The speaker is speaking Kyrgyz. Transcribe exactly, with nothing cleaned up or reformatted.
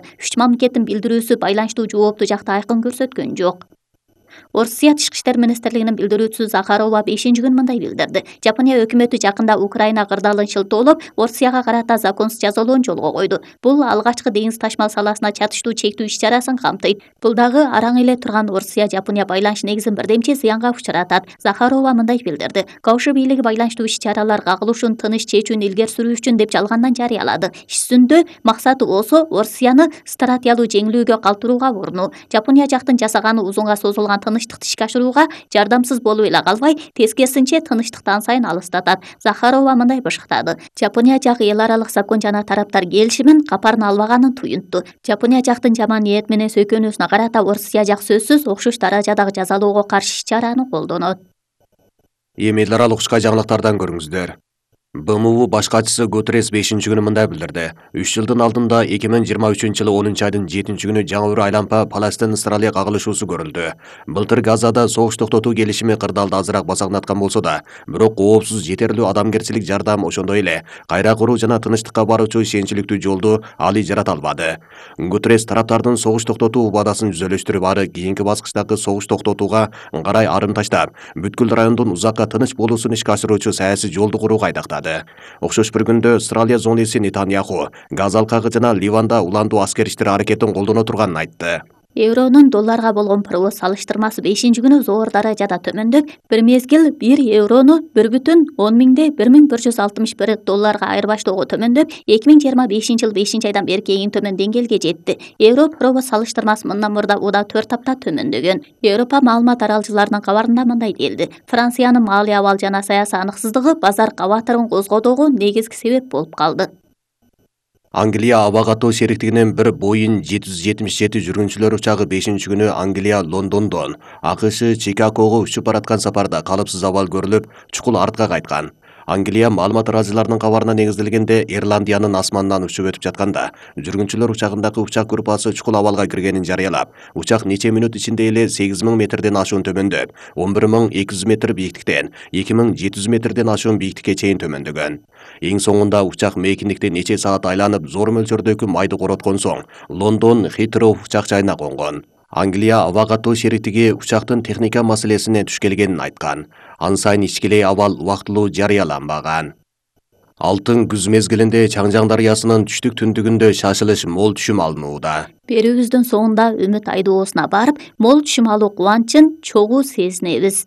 Үч мамлекеттин билдирүүсү байланыштуу жоопту жакты айкын көрсөткөн жок. Орусия Тышкы иштер министрлигинин билдирүүчүсү Захарова бешинчи күнү мындай билдирди. Жапония өкмөтү жакында Украина кырдаалын шылтоолоп, Орусияга карата законсуз жазалоону жолго койду. Бул алгачкы деңиз ташмал саласына чатыштуу чектөө иш-чарасын камтыйт. Бул дагы араң эле турган Орусия-Жапония байланыш негизин бирдемче зыянга учуратат. Захарова мындай билдирди. Кауши бийлиги байланыштуу иш-чаралар кагылышын тыныч чечүүнү илгери сүрүү үчүн деп жалгандан жарыялады. Иш жүзүндө максаты болсо Орусияны стратегиялуу жеңилүүгө калтырууга урунуу. Жапония жактын жасаганы узунга созулган тынычтыкты ишке ашырууга жардамсыз болуп эле калбай, тескерисинче тынычтыктан сайын алыстатат. Захарова мындай бышыктады. Жапония жагы эл аралык закон жана тараптар келишимин капарын албаганын туюнтту. Жапония жактын жаман ниет менен сөйкөнүүсүнө карата Орусия жак сөзсүз окшош даражадагы жазалоого каршы иш-чараны колдонот. Эми эл аралык учка жаңылыктардан көрүңүздөр. Б М У баш катчысы Гутеррес бешинчи күнү мындай билдирди. үч жылдын алдында эки миң жыйырма үчүнчү жылы онунчу айдын жетинчи күнү жаңы бір айлампа Палестин-Израиль кагылышуусу көрүлдү. Былтыр Газада согуш токтотуу келишими кырдаалды азыраак басаңдаткан болсо да, бирок коопсуз жетерлүү адамгерчилик жардам ошондой эле кайра куруу жана тынчтыкка баруучу ишеничиликтүү жолду али жарата албады. Гутеррес тараптардын согуш токтотуу убадысын жүзөлөштүрүп, ары кийинки баскычтагы согуш токтотууга карай арым таштап, бүткүл райондун узакка тыныч болуусун ишке ашыруучу саясий жолду курууга айдактады. Окшош бир күндө Австралия зонеси Нетаньяху Газа алкагы жана Ливанда уландуу аскер иштери аракетин колдоно турганын айтты. Евронун долларга болгон прогноз салыштырмасы бешинчи күнү зор даражада төмөндөп, бир мезгил бир еврону бир бүтүн он миңде бир миң бир жүз алтымыш бир долларга айырбаштоого төмөндөп, эки миң жыйырма бешинчи жыл бешинчи айдан берки эң төмөн деңгээлге жетти. Евро прогноз салыштырмасы мындан мурда уда төрт апта төмөндөгөн. Европа маалымат аралчыларынын кабарында мындай делди. Франциянын маалый абал жана саясий аныксыздыгы базар кабатырын козгоодогу негизги себеп болуп калды. Англия аба катоо шериктигинин бир Боинг жети жүз жетимиш жети жүргүнчүлөр учагы бешинчи күнү Англия Лондондон А К Ш Чикагого учуп бараткан сапарда калыпсыз абал көрүлүп, чукул артка кайткан. Англия маалымат аралчыларынын кабарына негизделгенде, Ирландиянын асманынан учуп өтүп жатканда жүргүнчүлөр учагындагы учак группасы чукул абалга киргенин жарыялап, учак нече минут ичинде эле сегиз миң метрден ашуун төмөндөп, он бир миң эки жүз метр бийиктиктен эки миң жети жүз метрден ашуун бийиктикке чейин төмөндөгөн. Эң соңунда учак мейкиндикте нече саат айланып, зор мөлчөрдөгү майды короткон соң Лондон Хитроу учак жайына конгон. Англия аба катоо шериктиги учактын техника маселесине туш келгенин айткан. Ан сайын ичкилей абал убактылуу жарыяланбаган. Алтын күз мезгилинде Чаңжаң дарыясынын түштүк түндүгүндө шашылыш мол түшүм алынууда. Берүүбүздүн соңунда Үмүт айдоосуна барып, мол түшүм алуу кубанычын чогуу сезинебиз.